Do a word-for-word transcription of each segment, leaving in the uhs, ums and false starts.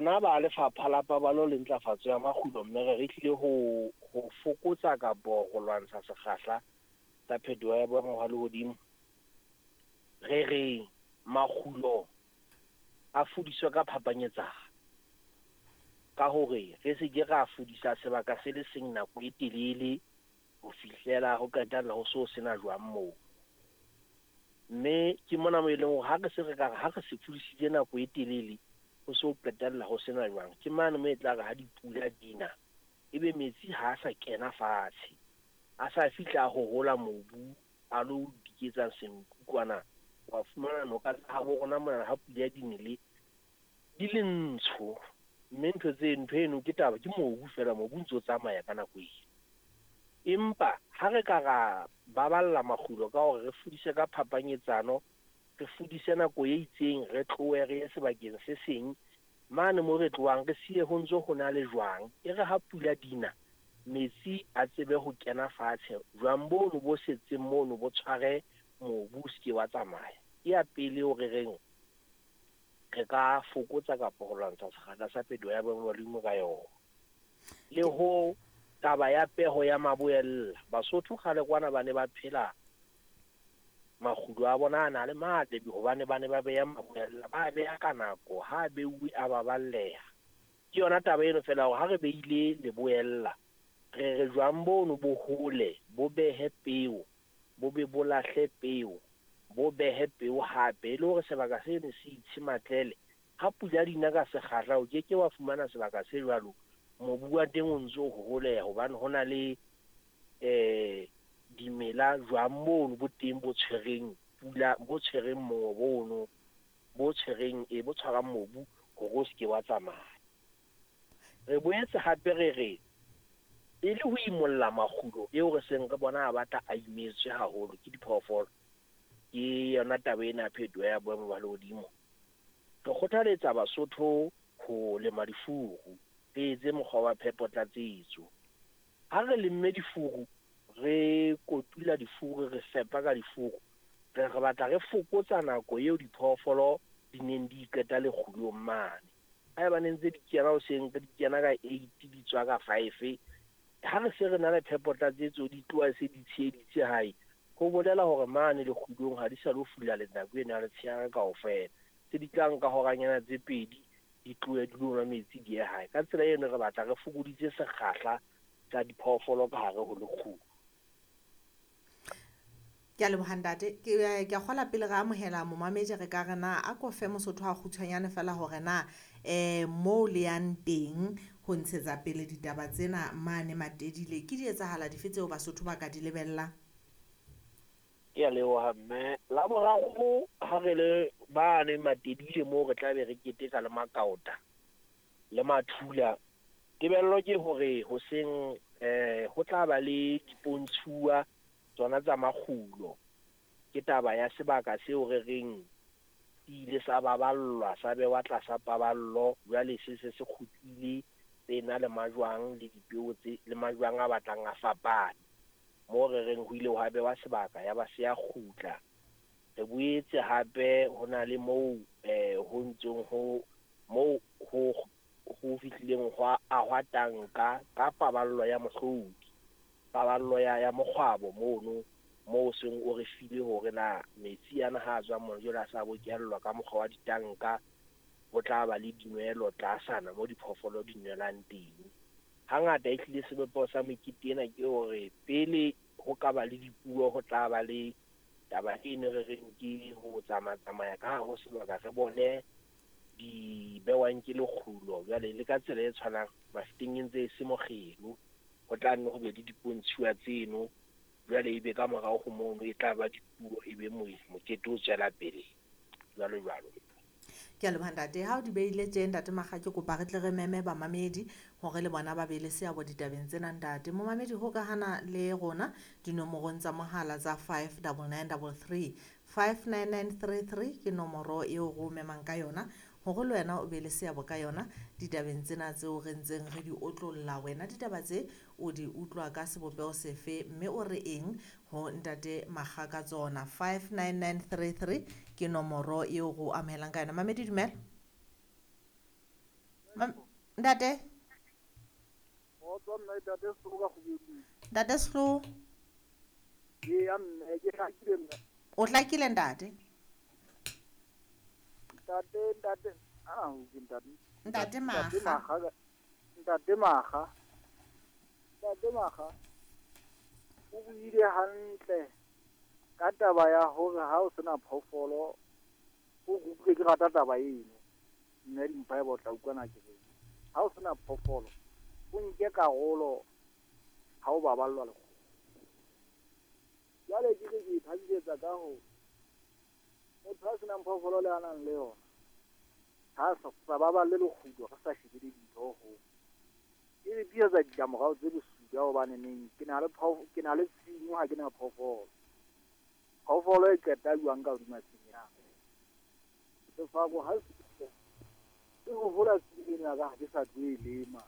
Rona ba Lefapha la Paballo le Ntlafatso ya Makgulo, mme re re tlile ho ho fokotsa kapo ho lwantsha sekgahla sa phetoho ya boemo ba lehodimo. Re re makgulo a fudiswe ka phapanyetsano, ka hore re se ke ra fudisa sebaka se le seng nako e telele ho fihlela ho qetella ho so sena jwang moo. Mme ke mona mo e leng hore ha re se re ka re ha re se fudisitse nako e telele ho so qetella ho sena jwang, ke mane mo e tla re ha dipula di na ebe metsi ha a sa kena fatshe, a sa fihla a hohola mobu a lo diketsa senku kwana. Wa fumana noka tsa habo rona mona ha pula di nele di le ntsho, mme ntho tse ntho eno ke taba ke mobu fela, mobu o ntso tsamaya ka nako eo. Empa ha re ka ra baballa makgulo ka hore re fudise ka phapanyetsano, re fudise nako e itseng, re tlohe re ye sebakeng se seng mane mo re tlohang, re siye ho ntso ho na le jwang. E re ha pula dina metsi a tsebe ho kena fatshe, jwang bono bo setseng mono bo tshware mobu o se ke wa tsamaya. Ke ya pele o re reng re ka fokotsa kapa ho lwantsha sekgahla sa phetoho ya boemo ba lehodimo ka yona. Le ho taba ya peho ya maboella, Basotho kgale kwana ba ne ba phela makgulo a bona a na le matle hobane ba ne ba beha maboella, ba beha ka nako, ha beuwe a baballeha. Ke yona taba eno fela hore ha re beile leboella, re re jwang bono bo hole, bo behe peo, bo be bo lahle peo, bo behe peo hape, e le hore sebaka seno se itshe matlele. Ha pula di na ka sekgahla, o ke ke wa fumana sebaka se jwalo mobu wa teng o ntso o hoholeha, hobane ho na le eh dimela jwang mono bo teng bo tshwereng pula, bo tshwereng mongobo ono, bo tshwereng e bo tshwarang mobu hore o se ke wa tsamaya. Re boetse hape re re e le ho imolla makgulo eo re seng re bona a batla a imetswe haholo ke diphoofolo, ke yona taba ena ya phetoho ya boemo ba lehodimo. Re kgothaletsa Basotho ho lema difuru, re etse mokgwa wa phepo tlatsetso. Ha re lemme difuru, re kotula difuru, re fepa ka difuru, re re batla re fokotsa nako eo diphoofolo di neng di qeta lekgulong mane. Haeba ne ntse di kena hoseng, di kena ka eight, di tswa ka five, ha re se re na le phepo tlatsetso di tloha se di tsheheditse hae, ho bolela hore mane lekgulong ha di sa lo fula le nako eno ya letshehare kaofela. Tse di tla nka horanyana tse pedi di tlohe di lo nwa metsi di ye hae. Ka tsela eno re batla re fokoditse sekgahla sa diphoofolo ka hare ho lekgulo. Ke a leboha ntate. Ke ke a kgola pele re amohela momamedi re ka re na a ko fe Mosotho a kgutshwanyane fela hore na eh moo le yang teng ho ntshetsa pele ditaba tsena mane Matedile ke di etsahala dife tseo Basotho ba ka di lebellang? Ke a leboha mme. La boraro ha re le bane Matedile moo re tla be re keteka le makaota le mathula. Tebello ke hore hoseng eh ho tla ba le dipontshuwa tsona tsa makgulo. Ke taba ya sebaka seo re reng se ile sa baballwa, sa behwa tlasa paballo, jwale se se se kgutlile se na le majwang le dipeo tse le majwang a batlang a fapane. Moo re reng ho ile hwa behwa sebaka ya ba se ya kgutla. Re boetse hape ho na le moo eh ho ntsong ho moo ho ho fihlileng hwa ahwa tanka ka paballo ya mohlodi, paballo ya ya mokgwabo mono moo seng o re file hore na metsi ana ha a tswa mona jwale a sa bokellwa ka mokgwa wa ditanka, ho tla ba le dinwelo tlasana mo diphoofolo di nwelang teng. Hangata ehlile sebopeho sa mekete ena ke hore pele ho ka ba le dipuo ho tla ba le taba eno re reng ke ho tsamaya-tsamaya ka hare ho sebaka re bone di bewang ke lekgulo. Jwale le ka tsela e tshwanang Mafeteng e ntse e se mokgelo, ho tla nne ho be le dipontshuwa tseno, jwale ebe ka morao ho mono e tla ba dipuo, ebe mokete o tswela pele jwalo jwalo. Ke a leboha ntate. Ha o di beile tje ntate Makga, ke kopa re tle re meme bamamedi hore le bona ba be le seabo ditabeng tsena ntate. Momamedi hokahana le rona dinomorong tsa mohala tsa five double nine double three, five nine nine three three ke nomoro eo re o memang ka yona hore le wena o be le seabo ka yona ditabeng tsena tseo re ntseng re di otlolla. Wena ditaba tse o di utlwa ka sebopeho sefe mme o re eng ho ntate Makga ka tsona? five nine nine three three ke nomoro eo re o amohelang ka yona. Mamedi dumela. Mam- Ntate? Kgotso mme, ntate Sehloho ka Kgubedu. Ntate Sehloho. Eya mme, ke hlakile mme. O hlakile ntate? Ntate, ntate, ah, ke ntate. Ntate Ntate Makga. Makga, ntate Makga. Ntate Makga. O buile hantle ka taba ya hore ha o sena phoofolo, o utlwe ke rata taba eno. Mme Dimpho haeba o tla utlwana ke reng. Ha o sena phoofolo, o nke karolo ha o baballwa lekgowa. Jwale ke re ke ithabisetsa ka ho motho a senang phoofolo le a nang le yona. Ha sa sa baballe lekgulo, re sa shebile dintho ho. E re tiisetsa ditlamorao tse bosula hobane neng ke na le phoofolo, ke na le tshimo ha ke na phoofolo. Phoofolo e qeta jwang ka hodima tshimo ya ka. Sefako ha se e ho hola tshimo ena ya ka ha ke sa tlo e lema.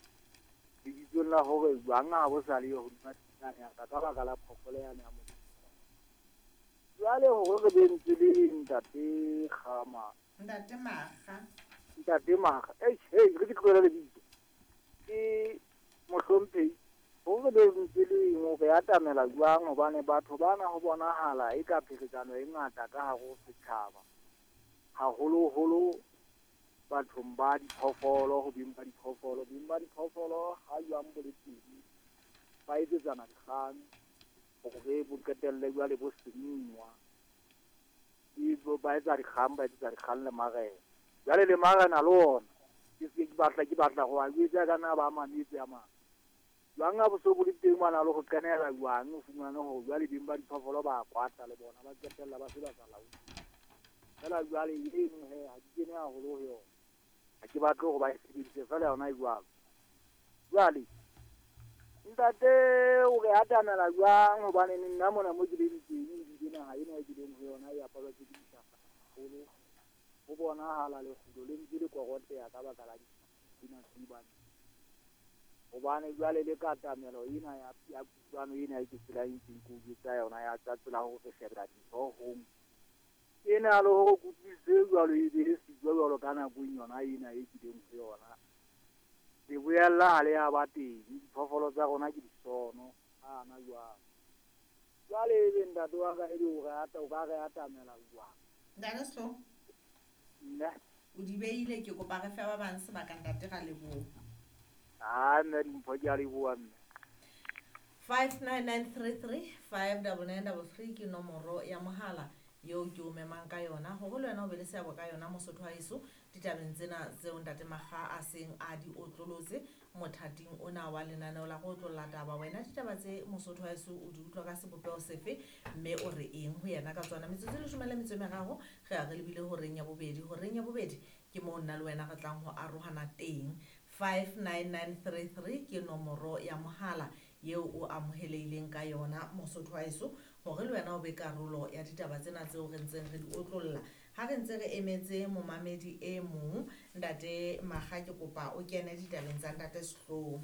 Lebitsong la hore jwang ha bo sa le hodima tshimo ya ka ka baka la phoofolo yane ya motho. Jwale hore re be ntse le ntate Kgama. Ntate Makga. Ntate Makga. Eish, hey, re ke tlohele lebitso. Ke mohlomphehi. Hore re be ntse le eng, re atamela jwang hobane batho bana ho bonahala e ka pherekano e ngata ka hare ho setjhaba. Haholoholo bathong ba diphoofolo, ho beng ba diphoofolo. Beng ba diphoofolo ha jwang bo le teng, ba etsetsana dikgang hore bo qetelle jwale bo senngwa. E bo ba etsa dikgang, ba etsetsa dikgang le marena. Jwale le marena le ona, ke se ke batla, ke batla ho a jwetsa ka na ba mametse a mang. Jwang ha bo so bo le teng bana le ho kenela jwang, o fumane hore jwale beng ba diphoofolo ba kwata le bona, ba qetella ba se ba sa laole. Feela jwale eno he, ha ke kene haholo ho yona. Ha ke batle hore ba e sebedise feela yona e jwalo. Jwale ntate o re atamela jwang hobane nna mona mo ke leng teng ebile naha ena e ke leng ho yona e apalwa ke dihlahla haholo. Ho bonahala lekgulo le ntse le koroteha ka baka la ditsena tse bane. Hobane jwale le katamelo ena ya, ya kutlwano ena e ke tsela e ntseng ke o jwetsa yona ya tsa tsela hore re shebela dintho hong. Ena le hore kutlwisiso e jwalo e be e siko jwalo ka nakong yona ena e kileng ho yona. Le boella ha le ya ba teng, diphoofolo tsa rona ke disono, hana jwalo. Jwale ebe ntate wa ka ebe o re ata, o ka re atamela jwang? Ntate Sehloho. Nna. O di beile, ke kopa re fe ba bang sebaka ntate, ra leboha. Ah, mme Dimpho, ke a leboha mme. five nine nine three three, five double nine double three ke nomoro ya mohala eo ke o memang ka yona hore le wena o be le seabo ka yona mosotho wa heso ditabeng tsena tseo ntate Makga a seng a di otlolotse mothating ona wa lenaneo la go otlolla taba. Wena ditaba tse mosotho wa heso o di utlwa ka sebopeho sefe mme o re eng ho yena ka tsona? Metsotso e leshome le metso e meraro re ya re lebile horeng ya bobedi. Horeng ya bobedi ke moo nna le wena re tlang ho arohana teng. five nine nine three three ke nomoro ya mohala eo o amohelehileng ka yona mosotho wa heso hore le wena o be karolo ya ditaba tsena tseo re ntseng re di otlolla. Ha re ntse re emetse momamedi e mong, ntate Makga, ke kopa o kene ditabeng tsa ntate Sehloho.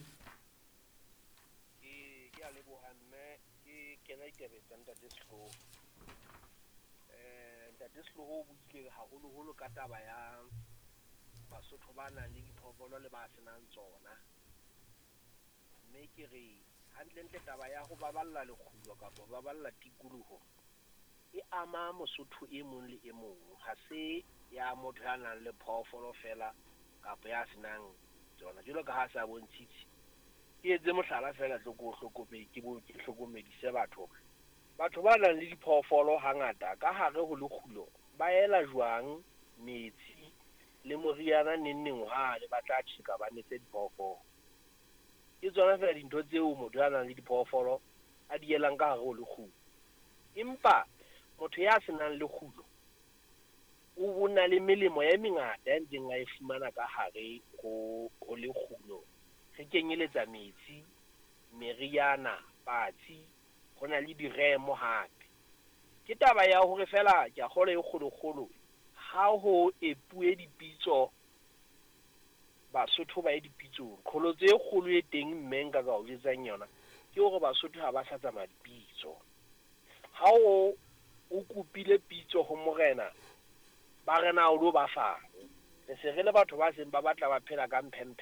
Ke, ke a leboha mme, ke kena ditabeng tsa ntate Sehloho. Eh, ntate Sehloho o buile haholoholo ka taba ya Basotho ba nang le diphoofolo le ba senang tsona. Mme ke re hantlentle taba ya ho baballa lekgulo kapa ho baballa tikoloho e ama Mosotho e mong le e mong. Ha se ya motho ya nang le phoofolo feela kapa ya senang tsona. Jwalo ka ha sa bontshitse, ke etse mohlala feela tlo ko hlokomedi, ke bo ke hlokomedise batho hore batho ba nang le diphoofolo hangata ka hare ho lekgulo ba ela jwang metsi le moriana neng neng hwane ba tla tjheka ba nese diphoofolo. Ke tsona feela dintho tseo motho ya nang le diphoofolo a di elang ka hare ho lekgulo. Empa motho ya senang lekgulo o, o na le melemo e mengata ya ntseng a e fumana ka hare ho, ho lekgulo. Re kenyeletsa metsi, meriana, patsi, ho na le diremo hape. Ke taba ya hore feela ke a kgolwa e kgolokgolo ha ho epuwe dipitso, Basotho ba ye dipitsong. Qholotso e kgolo e teng mme nka ka o jwetsang yona ke hore Basotho ha ba sa tsamaya dipitso. Ha o, o kopile pitso ho morena, ba re na o lo ba fang. Re se re le batho ba seng ba batla ba phela ka mphemphe.